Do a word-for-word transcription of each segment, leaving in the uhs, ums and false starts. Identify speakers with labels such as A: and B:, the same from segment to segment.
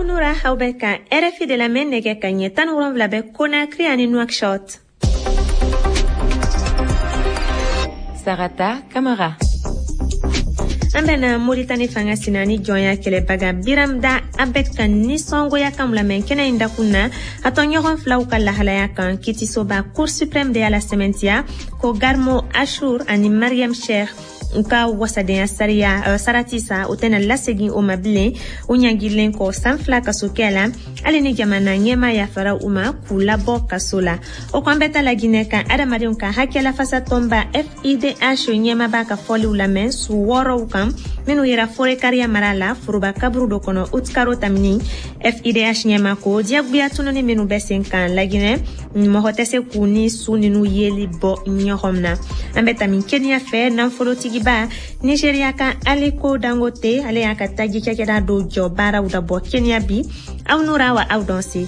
A: Aw nura, aw bɛ ka R F I de lamɛn. Nɛgɛ ka ɲɛ tan ni wolonwula bɛ Conakry ani Nouakchott.
B: Sarata Kamara.
A: An bɛna Moritani fanga sina ni jɔnya kɛlɛbaga Biram Dah Abeid ka nisɔngoya kan lamɛn kɛnɛ in dakun na, a tɔɲɔgɔn filaw ka lahalaya kan. Kitisoba Cour suprême de y'a la sɛmɛntiya ko Garmo Ashur ani Mariam Cheikh u ka wasadenya sariya uh, sarati sa, o tɛna lasegin o ma bilen, u ɲangilen kɔ san fila kasokɛ la, hali ni jamana ɲɛma yafara u ma k'u labɔ kaso la. O kɔn bɛ ta Laginɛ kan, adamadenw ka hakɛ lafasa tɔnba F I D H ɲɛma b'a ka fɔliw lamɛn su wɔɔrɔw kan minnu yera Forekariya mara la, foroba kaburu dɔ kɔnɔ, utikaro tamini. F I D H ɲɛma ko diyagoya tununi minnu bɛ sen kan Laginɛ, mɔgɔ tɛ se k'u ni su ninu yeli bɔ ɲɔgɔn na. An bɛ tami Kenya fɛ, nafolotigiba Nigeria ka Aliko Dangote, ale y'a ka taji cakɛda dɔ jɔ baaraw dabɔ Kenya bi. Aw nura wa aw dɔn se.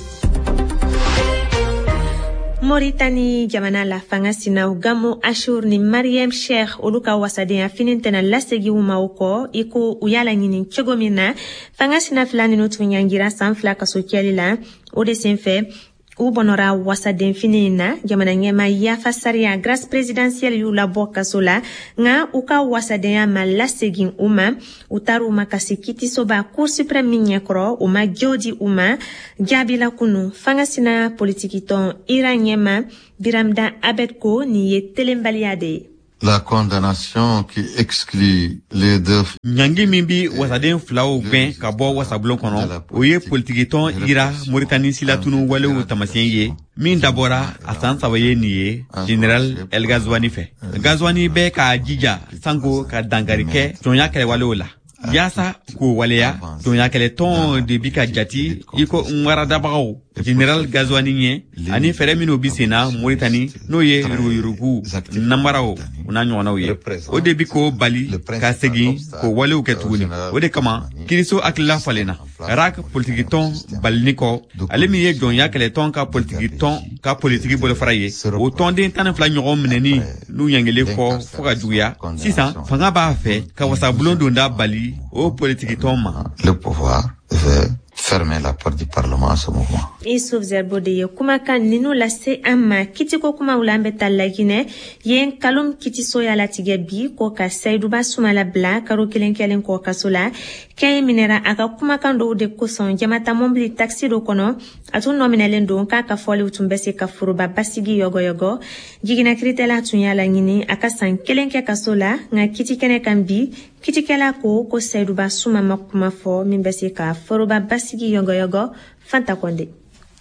A: Moritani jamana la, fanga sinaw Gamo Ashur ni Mariam Sheikh, olu ka wasadenya fini tɛna lasegi u ma o kɔ i ko u y'a laɲini cogo min na. Fanga sina fila ninu tun ɲangira san fila kaso kɛli la. O de senfɛ u bɔnɔra wasaden fini in na. Jamana ɲɛma yafa sariya, grâce présidentielle, y'u labɔ kaso la, nka u ka wasadenya ma lasegin u ma. U taar'u ma ka se kitisoba Cour suprême min ɲɛkɔrɔ, u ma jo di u ma jaabi la kunu. Fanga sina politikitɔn I R A ɲɛma Biram Dah Abeid ko nin ye telenbaliya de ye.
C: La condamnation qui exclut les deux
D: Ɲangi min bi wasaden filaw gwɛn ka bɔ wasabulon kɔnɔ, o ye politikitɔn I R A Moritani silatunu walew tamasiyɛn ye min dabɔra a san saba ye nin ye Général El Gazwani fɛ. Gazwani bɛ k'a jija sanko ka dankari kɛ jɔnya kɛlɛwalew la. Yaasa k'o waleya, jɔnyakɛlɛtɔn de bi ka jati i ko nwaradabagaw Général Gazwani ɲɛ, ani fɛɛrɛ minw bi senna Moritani, n'o ye yuruguyurugu, namaraw, o n'a ɲɔgɔnnaw ye, o de bi k'o bali ka segin k'o walew kɛ tuguni. O de kama kiriso hakilila falenna rak politikitɔn balini kɔ, ale min ye jɔnya kɛlɛtɔn ka politikitɔn ka politiki bolofara ye. O tɔnden tan ni fila ɲɔgɔn minɛni n'u ɲangelen kɔ fɔɔ ka juguya, sisan fanga b'a fɛ ka wasabulon donda bali o politikitɔn ma.
C: Le pouvoir veut fermer la porte du Parlement à ce mouvement.
A: Isuf Zerbo de ye kumakan ninu lase an ma. Kitiko kumaw la, an bɛ taa Laginɛ. Yen Kalum kitiso y'a latigɛ bi ko ka Sayiduba Sumala bila karo kelen kɛlen kɔ kaso la. Kɛ minɛra a ka kumakan dɔw de kosɔn jamata mɔbili taxi dɔ kɔnɔ. A tun nɔ minɛlen don k'a ka fɔliw tun bɛ se ka foroba basigi yɔgɔyɔgɔ. Jigina kiritɛla tun y'a laɲini a ka san kelen kɛ kaso la, nka kiti kɛnɛ kan bi, kitikɛla ko ko Sayiduba Suma ma kuma fɔ min bɛ se ka foroba basigi yɔgɔyɔgɔ. Fanta Kɔnde.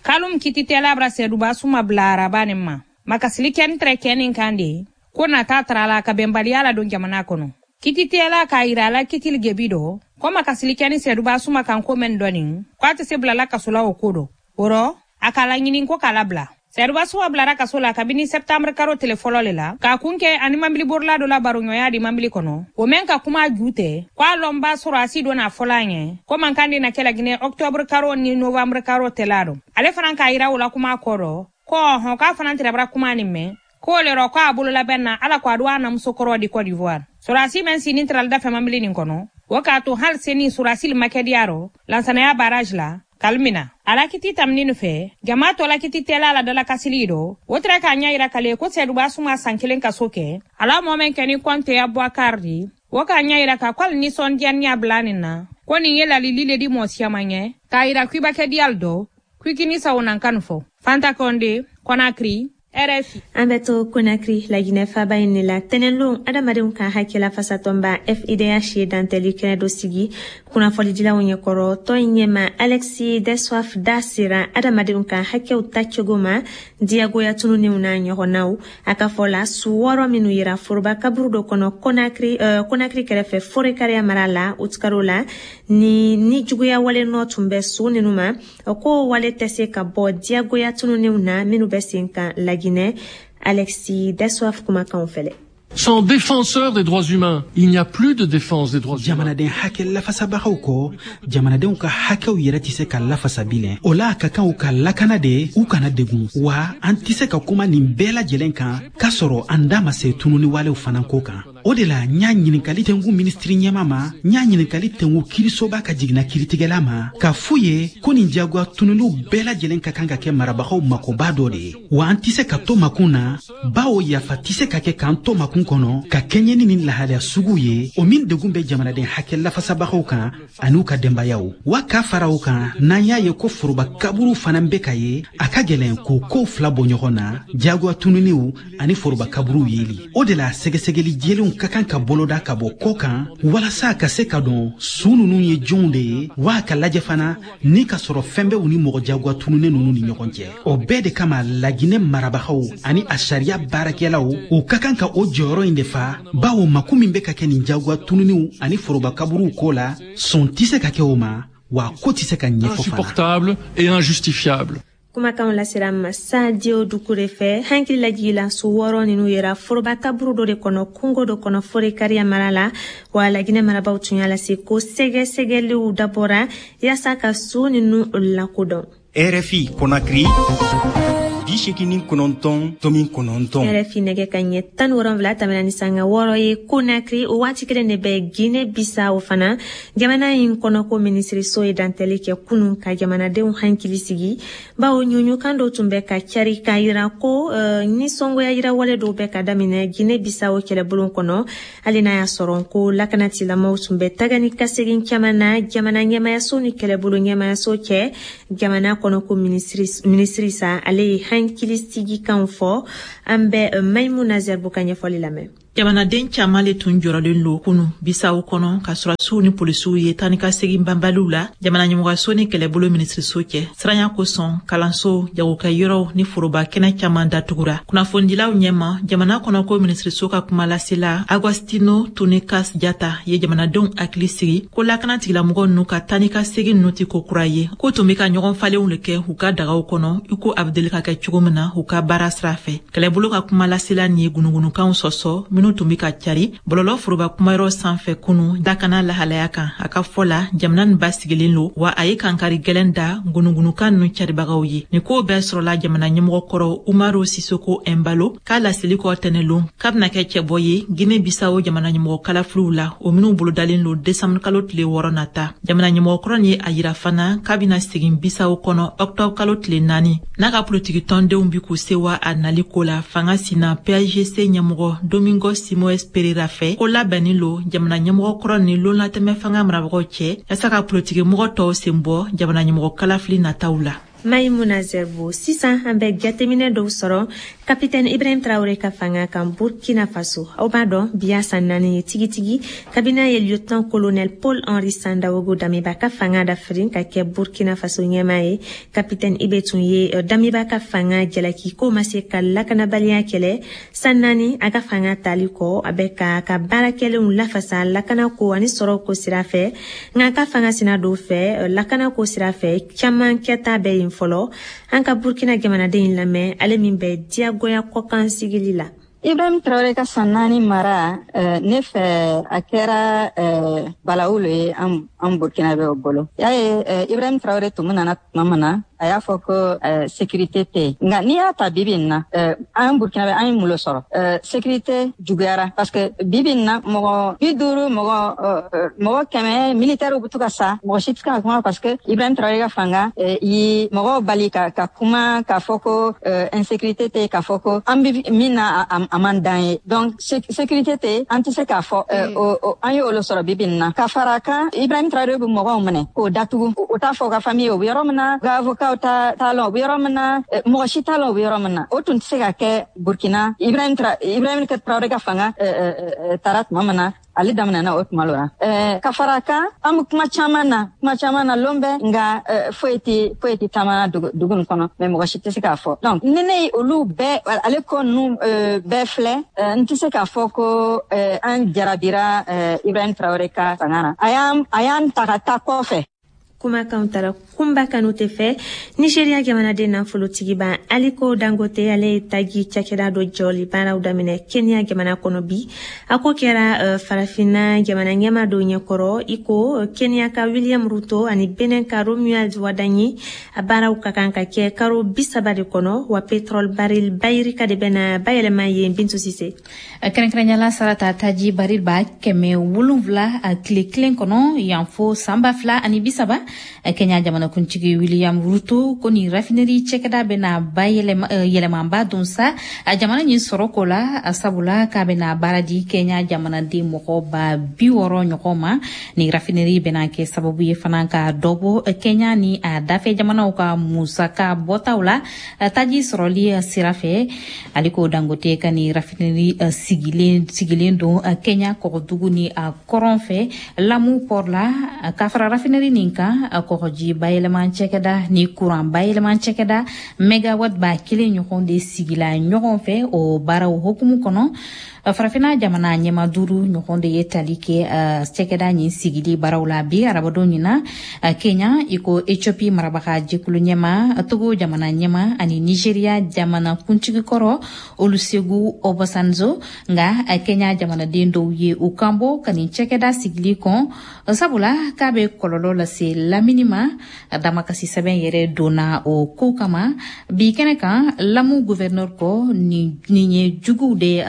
E: Kalum kititɛla bara Sɛduba Suma bila araba nin ma makasili kɛni tɛrɛ kɛnin kan de ko nata tara la ka bɛnbaliya la don jamana kɔnɔ. Kititɛla k'a yira a la kitili gebi dɔ ko makasili kɛni Sɛduba Suma kan ko mɛn dɔɔni ko a tɛ se bilala kaso la o ko dɔ. O rɔ a k'a laɲini ko k'a labila. Sɛduba Suma bilara kaso la kabini sɛptanburu karo tele fɔlɔ le la k'a kun kɛ ani mabiliborila dɔ la baroɲɔgɔnya di mabili kɔnɔ, o mɛn ka kuma ju tɛ ko a lɔnba sɔrɔ a si dɔ n'a fɔla a ɲɛ ko mankan de na kɛ Laginɛ ɔktɔburu karo ni novanburu karo tɛla dɔ. Ale fana k'a yira o la kuma kɔrɔ ko ɔhɔn k'a fana tɛrɛbara kuma nin mɛn k'o le rɔ k'a bololabɛn na ala ko a do a namuso kɔrɔ di Côte d'Ivoire. Sɔrɔdasi mɛn sini tarali dafɛ mabili nin kɔnɔ, o k'a to hali seni sɔrɔdasi ma kɛ diya rɔ Lansanaya barrage la kalimina. Ala kiti tamini nin fɛ jama tɔ la kiti tɛla la dala kasili dɔ o tɛrɛ k'a ɲɛ yira kale ko Sɛduba Suma san kelen kaso kɛ. Ala mɔ mɛn kɛ ni kɔnte Abubakar di, o k'a ɲɛ yira ka k'ale nisɔndiyaniya bila nin na ko nin ye lalili le di mɔɔ siyaman ɲɛ k'a yira k'i ba kɛ diyali dɔ k'i k'i ni sawonankan fɔ. Fanta Kɔnde, Kɔnakiri, R F I.
A: An bɛ to Konakiri, Laginɛ faba in de la. Tɛnɛnlon, adamadenw ka hakɛ lafasatɔnba F I D H ye dantɛli kɛnɛ dɔ sigi kunnafonidilaw ɲɛkɔrɔ. Tɔn in ɲɛma Alexis Deswaef da sera adamadenw ka hakɛw tacogo ma diyagoya tununiw n'a ɲɔgɔnnaw. A ka fɔ la, su wɔɔrɔ minnu yira foroba kaburu dɔ kɔnɔ Konakiri, uh, Konakiri kɛrɛfɛ Forekariya mara la utikaro la, ni ni juguya wale nɔ tun bɛ su ninu ma, ko wale tɛ se ka bɔ diyagoya tununiw na minnu bɛ sen kan Laginɛ. Alexis Deswaef kumakanw fɛlɛ.
F: Sans défenseur des droits humains, il n'y a plus de défense des droits humains.
G: Jamanaden hakɛ lafasabagaw kɔ, jamanadenw ka hakɛw yɛrɛ tɛ se ka lafasa bilen. O la a ka kan u ka lakana de, u kana degun wa. An tɛ se ka kuma nin bɛɛ lajɛlen kan k'a sɔrɔ an da ma se tununi walew fana ko kan. O de la n y'a ɲininkali tɛnku minisiri ɲɛma ma, n y'a ɲininkali tɛnku kiirisoba ka jiginna kiiritigɛla ma, k'a f'u ye ko nin jagoya tununiw bɛɛ lajɛlen ka kan ka kɛ marabagaw makoba dɔ de ye. Wa an tɛ se ka to makun na, bawo yafa tɛ se ka kɛ k'an to makun kɔnɔ ka kɛɲɛ ni nin lahalaya sugu ye, o min degun bɛ jamanaden hakɛ lafasabagaw kan an'u ka denbayaw. Wa k'a fara o kan, n'an y'a ye ko foroba kaburu fana bɛ ka ye, a ka gɛlɛn k'o kow fila bɔ ɲɔgɔn na, jagoya tununiw ani foroba kaburuw yeli. O de la sɛgɛsɛgɛli jɛlenw ka kan ka boloda ka bɔ kɔ kan, walasa ka se ka dɔn su ninnu ye jɔnw de ye, wa ka lajɛ fana ni ka sɔrɔ fɛn bɛ u ni mɔgɔ jagoya tununnen ninnu ni ɲɔgɔn cɛ. O bɛɛ de kama Laginɛ marabagaw ani a sariya baarakɛlaw, u ka kan ka o jɔyɔrɔ in de fa, bawo mako min bɛ ka kɛ nin jagoya tununiw ani foroba kaburuw ko la, sɔn tɛ se ka kɛ o ma, wa ko tɛ se ka ɲɛfɔ fana.
F: Insupportable et injustifiable.
A: Kumakanw lasera ma Sadio Dukure fɛ. Hankili lajigila su wɔɔrɔ ninnu yera foroba kaburu dɔ de kɔnɔ kungo dɔ kɔnɔ Forekariya mara la. Wa Laginɛ marabaw tun y'a lase ko sɛgɛsɛgɛliw dabɔra yaasa ka su ninnu lakodɔn.
B: R F I Conakry bi seegin ni kɔnɔntɔn tomi kɔnɔntɔn.
A: R F I nɛgɛ ka ɲɛ tan ni wolonwula tɛmɛna ni sanga wɔɔrɔ ye Conakry. O waati kelen de bɛ Guinée Bissau fana. Jamana in kɔnɔko minisiriso ye dantɛli kɛ kunun ka jamanadenw hankili sigi, bawo ɲuɲukan dɔw tun bɛ ka cari k'a yira ko uh, nisɔngoya yirawale dɔw bɛ ka daminɛ Guinée Bissau kɛlɛbolo kɔnɔ, hali n'a y'a sɔrɔ ko lakanatilamɔw tun bɛ taga ni ka segin caman na jamana ɲɛmayaso ni kɛlɛbolo ɲɛmayaso cɛ. Jamana kɔnɔko minisiri sa ale ye hankili sigikanw fɔ. An bɛ Maimuna Zerbo ka ɲɛfɔli lamɛn.
H: Jamanaden caman le tun jɔrɔlen lo kunu Bisawo kɔnɔ ka sɔrɔdasiw ni polisiw ye taa ni ka segin banbaliw la jamana ɲɛmɔgɔso ni kɛlɛbolo minisiriso cɛ. Siranya kosɔn kalanso, jagokɛyɔrɔw ni foroba kɛnɛ caman datugura. Kunnafonidilaw ɲɛma, jamana kɔnɔko minisiriso ka kumalasela Agostino Tunikas Jata ye jamanadenw hakili sigi ko lakana tigilamɔgɔ ninnu ka taa ni ka segin ninnu tɛ ko kura ye, k'u tun bɛ ka ɲɔgɔn falenw le kɛ u ka dagaw kɔnɔ i ko a bɛ deli ka kɛ cogo min na u ka baara sira fɛ. Kɛlɛbolo ka kumalasela nin ye gunugunukanw sɔsɔ minnu tun bɛ ka cari bɔlɔlɔ foroba kumayɔrɔ sanfɛ kunu dakana lahalaya kan. A ka fɔ la, jamana nin basigilen lo, wa a ye kankari gɛlɛn da gunugunukan ninnu caribagaw ye. Nin kow bɛɛ sɔrɔla jamana ɲɛmɔgɔ kɔrɔ Umaru Sisoko Embalo k'a laseli kɔ tɛnɛlon k'a bɛna kɛ cɛbɔ ye Guinée Bissau jamana ɲɛmɔgɔ kalafiliw la, o minnu bolodalen lo desanburu kalo tile wɔɔrɔ nata. Jamana ɲɛmɔgɔ kɔrɔ nin ye a yira fana k'a bɛna segin Bissau kɔnɔ ɔkutɔburu kalo tile naani n'a ka politiki tɔndenw bi k'u sewa a nali ko la. Fanga sina P A G C ɲɛmɔgɔ Domingo Simoes Pereira fɛ ko labɛnni lo jamana ɲɛmɔgɔ kɔrɔ ni lonlatɛmɛ fanga marabagaw cɛ yaasa ka politiki mɔgɔ tɔw sen bɔ jamana ɲɛmɔgɔ kalafili nataw la.
A: Maimuna Zerbo. Sisan an bɛ jateminɛ dɔw sɔrɔ Kapitɛni Ibrahim Traoré ka fanga kan Burkina Faso. Aw b'a dɔn bi y'a san naani ye tigitigi kabini a ye lieutenant colonel Paul Henri Sandaogo Damiba ka fanga dafirin ka kɛ Burkina Faso ɲɛmaa ye. Kapitɛni Ibe tun ye Damiba ka fanga jalaki k'o ma se ka lakanabaliya kɛlɛ. San naani a ka fanga tali kɔ, a bɛ ka ka baarakɛlenw lafasa lakanako ani sɔrɔko sira fɛ. Nka a ka fanga sina dɔw fɛ lakanako sira fɛ caman kɛta bɛ yen fɔlɔ. An ka Burkina jamanaden in lamɛn, ale min bɛ diyagoya kɔkan sigili la.
I: Ibrahim Traoré ka san naani mara, ne fɛ a kɛra balawu le ye an an Burkinabɛw bolo. Y'a ye Ibrahim Traoré tun nana tuma min na, a y'a fɔ ko sécurité tɛ yen. Nka n'i y'a ta bibi in na, an Burkinabɛ an ye mun le sɔrɔ? Sécurité juguyara parce que bibi in na mɔgɔ bi duuru, mɔgɔ mɔgɔ kɛmɛ militaires bɛ to ka sa, mɔgɔ si tɛ se ka kuma parce que Ibrahim Traoré ka fanga ye mɔgɔw bali ka ka kuma k'a fɔ ko insécurité tɛ yen, k'a fɔ ko an bɛ min na a man d'an ye. Donc sécurité tɛ, an tɛ se k'a fɔ an ye olu sɔrɔ bibi in na. Ka fara kan, Ibrahim Traoré bɛ mɔgɔw minɛ k'o datugu, o t'a fɔ u ka famille ye u bɛ yɔrɔ min na, u ka avocat t'a t'a lɔn u bɛ yɔrɔ min na, mɔgɔ si t'a lɔn u bɛ yɔrɔ min na. O tun tɛ se ka kɛ Burkina. Ibrahim Ibrahim Traoré ka fanga taara tuma min na, ale daminɛna o tuma la. Ka fara kan, an bɛ kuma caman na, kuma caman na lon bɛɛ, nka foyi tɛ foyi tɛ taama dugu nin kɔnɔ, mais mɔgɔ si tɛ se k'a fɔ. Donc ni ne ye olu bɛɛ ale ko ninnu bɛɛ filɛ, n tɛ se k'a fɔ ko an jarabira Ibrahim Traoré ka fanga na. A y'an a y'an ta ka taa kɔfɛ.
A: Kumakanw tara Kunba Kanute fɛ. Nigeria jamanaden nafolotigiba Aliko Dangote, ale ye taji cakɛda dɔ jɔli baaraw daminɛ Kenya jamana kɔnɔ bi. A ko kɛra uh, farafinna jamana ɲɛma dɔ ɲɛkɔrɔ, i ko Kenya ka William Ruto ani Benin ka Romuald Wadagni. A baaraw ka kan ka kɛ karo bi saba de kɔnɔ, wa pétrole baril bayirika de bɛna bayɛlɛma yen. Bintu Sise.
J: Kɛrɛnkɛrɛnyala Sarata, taji baril ba kɛmɛ wolonfila a tile kelen kɔnɔ yan fo san ba fila ani bi saba. Kenya jamanakuntigi William Ruto ko nin raffinerie cɛkɛda bɛna ba yɛlɛmanba don sa jamana ɲin sɔrɔ ko la, sabula k'a bɛna baara di Kenya jamanaden mɔgɔ ba bi wɔɔrɔ ɲɔgɔn ma. Nin raffinerie bɛna kɛ sababu ye fana ka dɔ bɔ Kenya ni a dafɛ jamanaw ka musaka bɔtaw la taji sɔrɔli sira fɛ. Aliko Dangote ka nin raffinerie sigilen sigilen don Kenya kɔgɔdugu ni a kɔrɔn fɛ, Lamu port la. Ka fara raffinerie nin kan, kɔgɔji bayɛlɛma cɛkɛda ni kuran bayɛlɛma cɛkɛda megawatt ba kelen ɲɔgɔn de sigila ɲɔgɔn fɛ. O baaraw hokumu kɔnɔ, Farafina jamana ɲɛma duuru ɲɔgɔn de ye tali kɛ cɛkɛda ɲin sigili baaraw la bi arabadon ɲina Kenya, i ko Ethiopie marabaga jɛkulu ɲɛma, Togo jamana ɲɛma ani Nigeria jamana kuntigi kɔrɔ Olusegun Obasanjo. Nga Kenya jamanaden dɔw ye u kanbɔ ka nin cɛkɛda sigili kɔn, sabula k'a bɛ kɔlɔlɔ lase lamini ma. Damakasi sɛbɛn yɛrɛ donna o ko kama bi kɛnɛ kan. Lamu gouverneur ko nin ye juguw de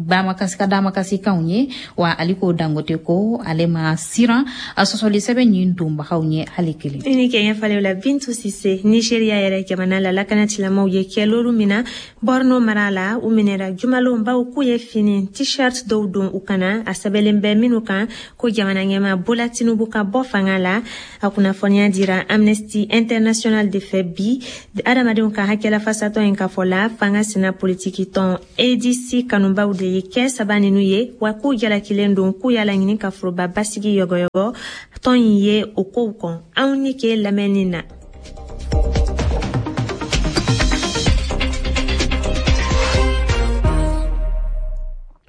J: damakasi ka damakasikanw ye, wa Aliko Dangote ko ale ma siran a sɔsɔli sɛbɛn ɲin donbagaw ɲɛ hali kelen.
A: I ni kɛ ɲɛfɔliw la, Bintu Sise. Nigeria yɛrɛ jamana la, lakanatigilamaaw ye kɛlolu mina Borno mara la. U minɛra jumalon baw k'u ye fini t-shirt dɔw don u kana, a sɛbɛnlen bɛ minnu kan ko jamana ɲɛma Bola Tinubu ka bɔ fanga la. A kunnafoniya dira Amnesty International de fɛ bi. Adamadenw ka hakɛlafasatɔ in ka fɔ la, fanga sina politiki tɔn A D C kanubaw de ye kɛ saba ninu ye, wa k'u jalakilen don k'u y'a laɲini ka foroba basigi yɔgɔyɔgɔ. Tɔn in ye o kow kɔn. Anw ni ke lamɛnni na.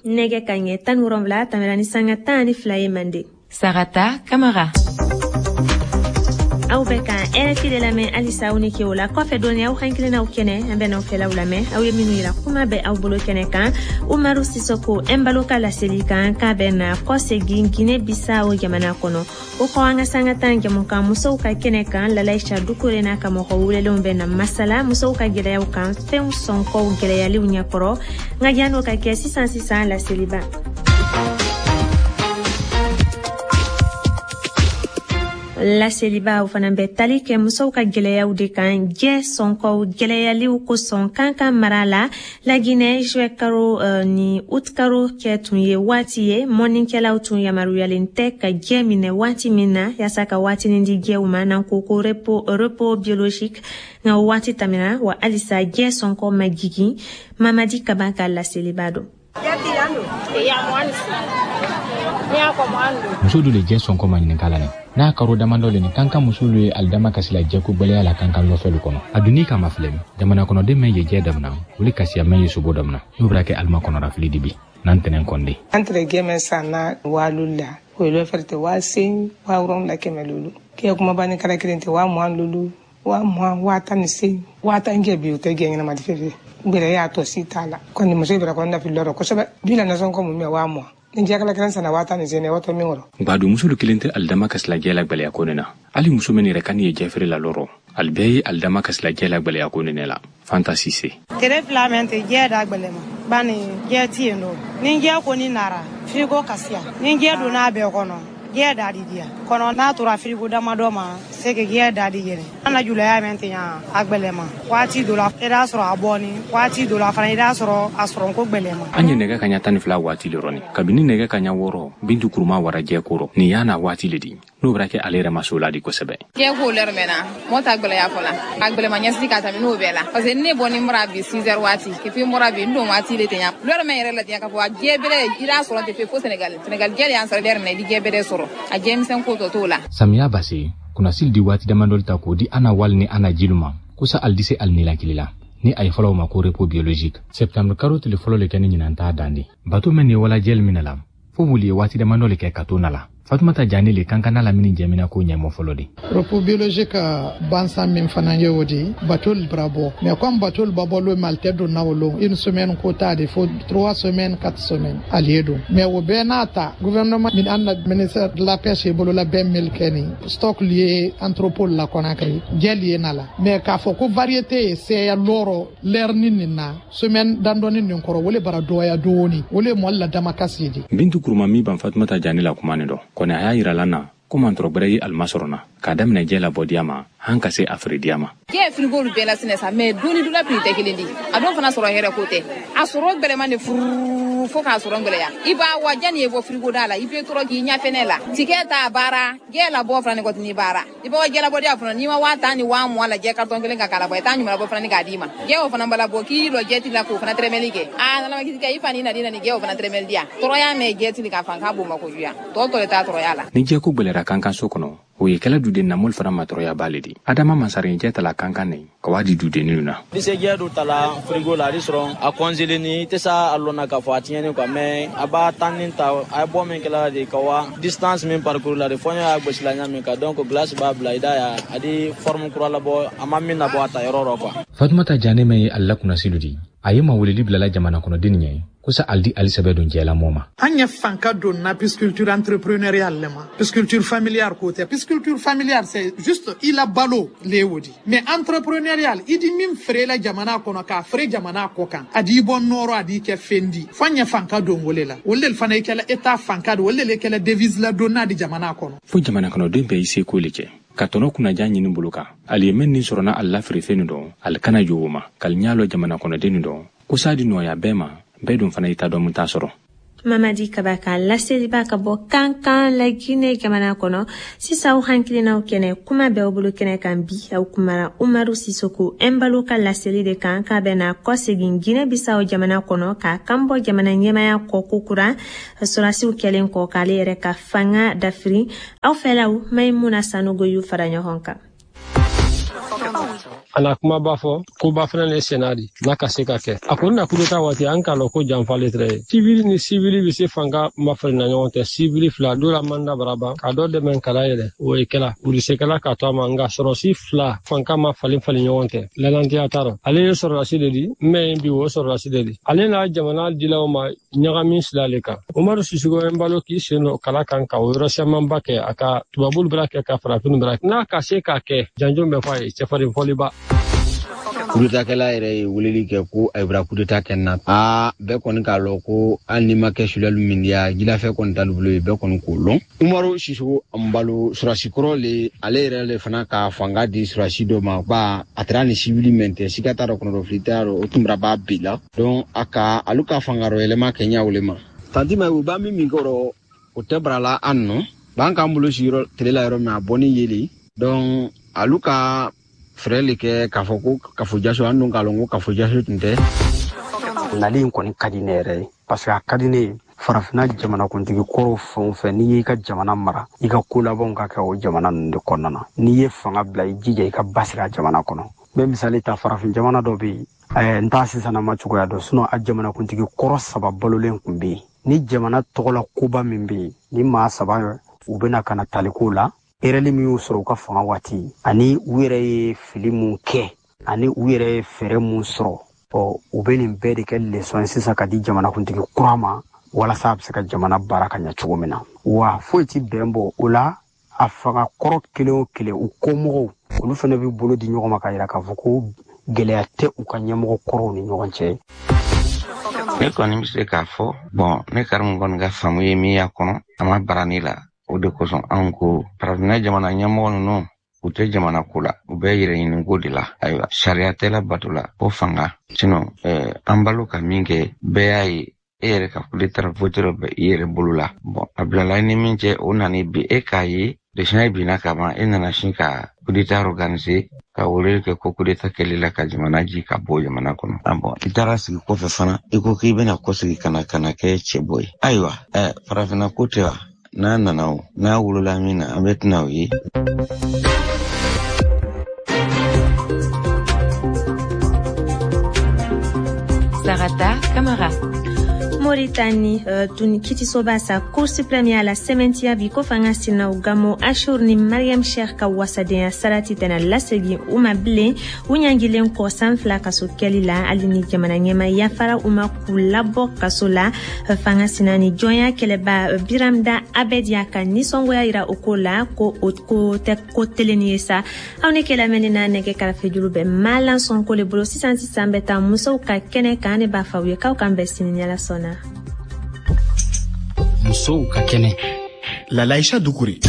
A: Nɛgɛ ka ɲɛ tan wolonwula tɛmɛna ni sanga tan ani fila ye Mande.
K: Sarata Kamara.
A: Aw bɛ ka R F I de lamɛn halisa. Aw ni ke o la kɔfɛ dɔɔni, aw hakilinaw kɛnɛ, an bɛ n'aw fɛlaw lamɛn. Aw ye minnu yira, kuma bɛ aw bolo kɛnɛ kan. Umaru Sisoko Ɛnbalo ka laseli kan k'a bɛ na kɔsegin Guinée Bissau jamana kɔnɔ. O kɔ, an ka sanga tan jamukan musow ka kɛnɛ kan, Lalaisa Dukure n'a ka mɔgɔ welelenw bɛ na masala musow ka gɛlɛyaw kan, fɛnw sɔnkɔw gɛlɛyaliw ɲɛkɔrɔ. Nka jan'o ka kɛ, sisan sisan, laseliba. Laselibaw fana bɛ tali kɛ musow ka gɛlɛyaw de kan, jɛ sɔnkɔw gɛlɛyaliw kosɔn Kankan mara la, Laginɛ. Juillet karo uh, ni août karo kɛ tun ye waati ye mɔnnikɛlaw tun yamaruyalen tɛ ka jɛ minɛ waati min na, yaasa ka waatinin di jɛw ma, n'an ko ko repos, repos biologique. Nka o waati tɛmɛna, wa halisa jɛ sɔnkɔ ma jigin. Mamadi Kaba ka laseliba don.
L: Muso dɔ le jɛ sɔnkɔ ma ɲininka la. N'a karo damadɔ le nin, Kankan musolu ye alidama kasi la jɛko gwɛlɛya la Kankan lɔfɛlu kɔnɔ. A dunni kama filɛ, jamana kɔnɔden mɛn ye jɛ damina, olu kasiya mɛn ye sobo damina, n'o bɛra kɛ alima kɔnɔrafili di bi n'an tɛnɛn kɔnde.
M: An tɛrɛ gɛmɛ sanna waalu la, o ye lɔfɛrɛ tɛ waa sen waa wɔrɔnwula kɛmɛ lolu kɛ kumaba ni kala kelen tɛ waa mugan lolu, waa mugan, waa tan ni sen, waa tan kɛ bi. O tɛ gɛ ɲɛnama di fefe gbɛrɛ y'a tɔ si t'a la kɔni. Muso bɛrɛ kɔni nafi lɔrɔ kosɛbɛ bi la nasɔn kɔ mun mɛ waa mugan ni jɛkala kelen sanna waa tan ni sen watɔ min kɔrɔ.
L: Gbadu musolu kelen tɛ alidama kasila jɛ la gwɛlɛya ko nin na. Hali muso min yɛrɛ kan ye jɛfere la lɔrɔ, ali bɛɛ ye alidama kasila jɛ la gwɛlɛya ko nin la. Fanta Sise.
N: Tere fila mɛn tɛ jɛ da gwɛlɛma bani jɛ ti yen dɔ. Ni jɛ kɔni nara firigo kasiya, ni jɛ donna a bɛɛ kɔnɔ, jɛ da di diya kɔnɔ. N'a tora firigo damadɔ ma se ke jɛ da di yɛrɛ. An na julaya mɛn tɛ yan a gwɛlɛma waati dɔ la, i b'a sɔrɔ a bɔni waati dɔ la fana, i b'a sɔrɔ a sɔrɔ ko gwɛlɛma.
L: An ye nɛgɛ kaɲa tan ni fila waati le rɔni. Kabini nɛgɛ kaɲa wɔɔrɔ, Bintu Kuruma wara jɛ kɔrɔ nin y'a na waati le di, n'o bɛra kɛ ale yɛrɛ ma so la di kosɛbɛ.
O: Jɛ ko lɛrɛ mɛn na mɔ ta gwɛlɛya fɔla a gwɛlɛma ɲɛsigi ka tɛmɛ n'o bɛɛ la, parce que ne bɔ ni bɔra bi six heures waati et puis n bɔra bi n don waati le tɛ ɲa lɛrɛ mɛn yɛrɛ la tiɲɛ k'a fɔ a jɛ bɛrɛ i b'a sɔrɔ tɛ fe fo Senegal. Senegal jɛ de y'an sɔrɔ lɛrɛ mɛn i di jɛ bɛrɛ sɔrɔ a jɛmisɛn ko tɔ t'o la.
L: Samiya base kunnasili di waati damadɔ ta k'o di ana wali ni ana jilu ma kosa ali di se ali nilakili la, ni a ye fɔlɔ ma ko repos biologique. Septembre karo tile fɔlɔ le kɛ ni ɲinan t'a dan di bato mɛn ni wala jɛli minɛ la fo wuli ye waati damadɔ le kɛ ka to na la. Fatumata Jane le Kankan n'a lamini jɛmina ko ɲɛmɔ fɔlɔ de.
P: Repos biologique bansan min fana ye o de bateau bara bɔ mais comme bateau ba bɔ lo mais tɛ don na o lon une semaine ko ta de fo trois semaines quatre semaines ale don mais o bɛɛ n'a ta gouvernement min an na ministère de la pêche bolo la bɛɛ mil kɛ ni stock lié entrepôt la Conakry jɛ lié na la mais k'a fɔ ko variété ye sɛya lɔrɔ lɛrini nin na semaine dandɔni nin kɔrɔ o le bara dɔgɔya dɔɔni o le mɔli la damakasi de.
L: Bintu Kuruma min ban Fatumata Jane la kuma nin dɔ kɔni a y'a yira la na ko mantɔrɔ gwɛrɛ ye alima sɔrɔ na k'a daminɛ jɛ labɔdiya ma han ka se a feerediya ma.
O: Jɛ firigolu bɛɛ la sinɛ sa mais doni dula prix tɛ kelen di a dɔw fana sɔrɔ hɛrɛ ko tɛ a sɔrɔ gwɛlɛman de furu fo k'a sɔrɔ gwɛlɛya i b'a wa janni ye bɔ firigo da la i bɛ tɔrɔ k'i ɲɛfɛnɛ la tikɛ t'a baara jɛ labɔ fana ni kɔtini baara i b'a jɛ labɔdiya fana n'i ma waa tan ni waa mugan lajɛ carton kelen ka k'a labɔ i t'a ɲuman labɔ fana ni k'a d'i ma jɛ o fana bala bɔ k'i lɔ jɛ ti la k'o fana tɛrɛmɛli kɛ aa nana ma kisi kɛ i fa ni nadi na ni jɛ o fana tɛrɛmɛli diya tɔrɔya mɛ jɛ ti k'a fan k'a bon ma kojuguya tɔ tɔ le t'a tɔrɔya la.
L: Ni jɛ ko gwɛlɛra Kankan so kɔnɔ o ye kɛla duden namol fana matɔrɔya b'ale di adama masarin tala Kankan ne ka waa di dudenninw na.
Q: Ni se jɛ do tala frigo la a sɔrɔ a congelé ni i tɛ sa a lɔnna k'a fɔ a tiɲɛni quoi mais a b'a tan ni ta a ye bɔ min kɛla de ka wa distance min parcours la de fɔ y'a gosi la ɲa min kan donc glace b'a bila i da ya a di forme kura labɔ a ma min nabɔ a ta yɔrɔ rɔ quoi.
L: Fatumata Jane mɛ ye ale la kunnasilu di a ye mawulili bilala jamana kɔnɔden ɲɛ ko sa aldi ali sɛbɛ don jɛla mɔ ma.
P: An ye fanka don na pisciculture entrepreneuriale le ma pisciculture familiale ko tɛ pisciculture familiale c'est juste i la balo le y'o di mais entrepreneurial i di min feere la jamana kɔnɔ k'a feere jamana kɔ kan a di bɔ nɔrɔ a di kɛ fɛn di fo an ye fanka don o le la o le fana ye kɛla état fanka don o le kɛla devise la don n'a di jamana kɔnɔ.
L: Fo jamana kɔnɔden bɛɛ y'i seko le kɛ ka tɔnɔ kunnaja ɲini bolo kan ali ye mɛn nin sɔrɔna ali la feerefɛn nin dɔn ali kana jo o ma k'ali ɲa lɔ jamana kɔnɔden nin dɔn ko sa di nɔgɔya bɛɛ ma bɛɛ dun fana i ta dɔn mun t'a sɔrɔ.
A: Mamadi Kaba ka laseliba ka bɔ Kankan la Guinée jamana kɔnɔ. Sisan aw hakilinaw kɛnɛ kuma bɛ aw bolo kɛnɛ kan bi aw kumara Umaru Sisoko Embalo ka laseli de kan k'a bɛna kɔsegin Guinée Bissau jamana kɔnɔ k'a kan bɔ jamana ɲɛmaya kɔ kokura sɔrɔdasiw kɛlen kɔ k'ale yɛrɛ ka fanga dafiri. Aw fɛlaw Maimuna Sanogo y'u fara ɲɔgɔn kan.
R: Ana kuma b'a fɔ ko ba fana ne senna di n'a ka se ka kɛ a kɔni na kudeta waati an k'a lɔn ko janfa le tɛrɛ ye sivili ni sivili bɛ se fanga mafarinna ɲɔgɔn tɛ sivili fila dɔ la manda bara ban ka dɔ dɛmɛ kala yɛlɛ o ye kɛla u se kɛla ka to a ma nka sɔrɔsi fila fanga ma falen falen ɲɔgɔn tɛ lalantiya t'a rɔ ale ye sɔrɔlasi de di mɛ bi o sɔrɔlasi de di ale n'a jamana dilaw ma ɲagami sila le kan Umaru Sisoko Embalo k'i sen dɔ kala kan ka o yɔrɔ camanba kɛ a ka tubabulu bɛra kɛ ka farafinw bɛra n'a ka se k'a kɛ janjo bɛ fɔ a ye cɛfarin fɔliba.
S: Kudetakɛla yɛrɛ ye weleli kɛ ko a bɔra kudeta kɛ na aa bɛɛ kɔni k'a lɔn ko hali n'i ma kɛ sulali min diya jilafɛ kɔni t'ale bolo ye bɛɛ kɔni k'o lɔn. Umaru Sisoko Embalo sɔrɔsi kɔrɔ le ale yɛrɛ le fana ka fanga di sɔrɔsi dɔ ma ba a taara ni sivili mɛn tɛ siga t'a rɔ kɔnɔdɔfili t'a rɔ o tun bɛra b'a bi la donc a ka alu ka fanga rɔ yɛlɛma kɛ ɲa o le ma. Tanti ma u b'a min min kɔrɔ o tɛ bara la an nɔ b'an k'an bolo sigiyɔrɔ tile la yɔrɔ min a bɔ ni yeli donc alu ka fɛɛrɛ le kɛ k'a fɔ ko kafo jaso an dun k'a lɔn ko kafo jaso tun tɛ.
T: Nali in kɔni ka di ne yɛrɛ ye parce que a ka di ne ye farafinna jamanakuntigi kɔrɔw fɛn o fɛn n'i y'i ka jamana mara i ka ko labanw ka kɛ o jamana ninnu de kɔnɔna na n'i ye fanga bila i jija i ka basigi a jamana kɔnɔ. N bɛ misali ta farafin jamana dɔ bɛ yen ɛɛ n t'a sisan ma cogoya dɔn sinon a jamanakuntigi kɔrɔ saba balolen tun bɛ yen ni jamana tɔgɔla koba min bɛ yen ni maa saba u bɛna ka na taliko la erreur min y'u sɔrɔ u ka fanga waati ani u yɛrɛ ye fili mun kɛ ani u yɛrɛ ye fɛɛrɛ mun sɔrɔ ɔ u bɛ nin bɛɛ de kɛ leçon ye sisan ka di jamanakuntigi kura ma walasa a bɛ se ka jamana baara ka ɲɛ cogo min na wa foyi ti bɛn bɔ o la a fanga kɔrɔ kelen o kelen u kɔmɔgɔw olu fana bɛ bolo di ɲɔgɔn ma ka yira k'a fɔ ko gɛlɛya tɛ u ka ɲɛmɔgɔ kɔrɔw ni ɲɔgɔn cɛ.
U: Ne kɔni bɛ se k'a fɔ bɔn ne karimu kɔni ka faamu ye min y'a kɔnɔ a ma bara ne la. O de kosɔn anw ko farafinna jamana ɲɛmɔgɔ ninnu u tɛ jamana ko la u bɛ yɛrɛ ɲiniko de la ayiwa sariya tɛ labato la ko fanga sinon eh, an balo ka min kɛ bɛɛ y'a ye e yɛrɛ ka kudeta votere bɛ i yɛrɛ bolo la bɔn a bilala i ni min cɛ o nana bi e k'a ye desina binna ka ban e nana sin ka kudeta organiser ka weleli kɛ ko kudeta kɛli la ka jamana ji ka bɔ jamana kɔnɔ ah bɔn i taara sigi kɔfɛ fana i ko k'i bɛna kɔsegi ka na ka na kɛ cɛbɔ ye ayiwa eh, farafinna ko tɛ wa n'a nana o n'a wolola min na an bɛ tɛna o ye.
K: Sarata Kamara.
A: Mauritanie, uh, tun kitisoba sa Cour suprême y'a la sɛmɛntiya bi ko fanga sinaw Gamo Ashur ni Mariam Sheikh ka wasadenya sarati tɛna lasegin u ma bilen, u ɲangilen kɔ san fila kaso kɛli la. Hali ni jamana ɲɛma yafara u ma k'u labɔ kaso la, fanga sina ni jɔnya kɛlɛba Biramda Abed y'a ka nisɔngoya yira o ko la, ko o ko tɛ ko teleni ye sa. Aw ni kɛ lamɛnni na, nɛgɛ karafejuru bɛ Malan Sɔnko le bolo. Sisan sisan bɛ taa musow ka kɛnɛ kan. Ne b'a fɔ aw ye k'aw k'an bɛn sini ni Ala sɔnna.
B: Musow ka kɛnɛ, Lalaïcha Dukure.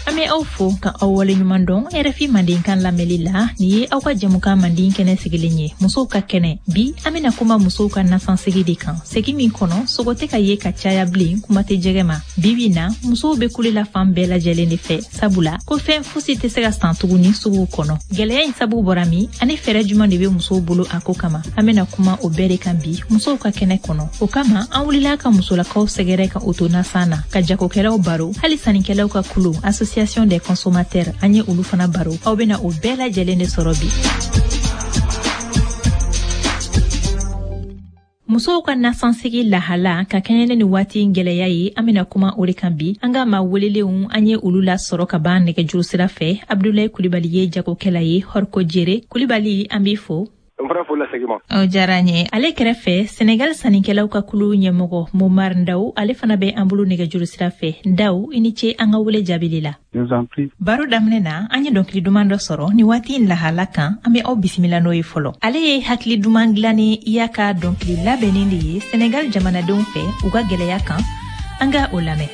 H: An bɛ aw fo ka aw waleɲuman dɔn R F I Mandenkan lamɛnli la. Nin ye aw ka jɛmukan manden kɛnɛ sigilen ye, musow ka kɛnɛ. Bi, an bena kuma musow ka nasansegi de kan, segi min kɔnɔ sogo tɛ ka ye ka caya bilen, kuma tɛ jɛgɛ ma. Bibi na, musow be kule la fan bɛɛ lajɛlen de fɛ, sabula ko fɛn fosi tɛ se ka san tuguni suguw kɔnɔ. Gwɛlɛya in sabu bɔra min, ani fɛɛrɛ juman de be musow bolo a ko kama, an bena kuma o bɛɛ de kan bi musow ka kɛnɛ kɔnɔ. O kama, an wulila ka musolakaw sɛgɛrɛ ka o to nasan na, ka jagokɛlaw baro, hali sannikɛlaw ka kulu, Association des consommateurs, an ye olu fana baro. Aw bena o bɛɛ lajɛlen de sɔrɔ bi. Musow ka nasansegi lahala ka kɛɲɛ ni waati gwɛlɛya ye, an bena kuma o de kan bi. An ka ma welelenw, an ye olu lasɔrɔ ka ban nɛgɛjuru sira fɛ. Abdulayi Kulibali ye jagokɛla ye, Hɔriko Jere. Kulibali, an b'i fo.
D: N fana foli lasegin ma.
H: O diyara n ye. Ale kɛrɛfɛ, Senegal sannikɛlaw ka kulu ɲɛmɔgɔ Momar Ndaw, ale fana bɛ an bolo nɛgɛjuru sira fɛ. Ndaw, i ni ce an ka wele jaabili la. Baro daminɛ na, an ye dɔnkili duman dɔ sɔrɔ ni waati in lahala kan. An bɛ aw bisimila n'o ye fɔlɔ. Ale ye hakili duman dilanni y'a ka dɔnkili labɛnnen de ye Senegal jamanadenw fɛ u ka gwɛlɛya kan. An ka o lamɛn.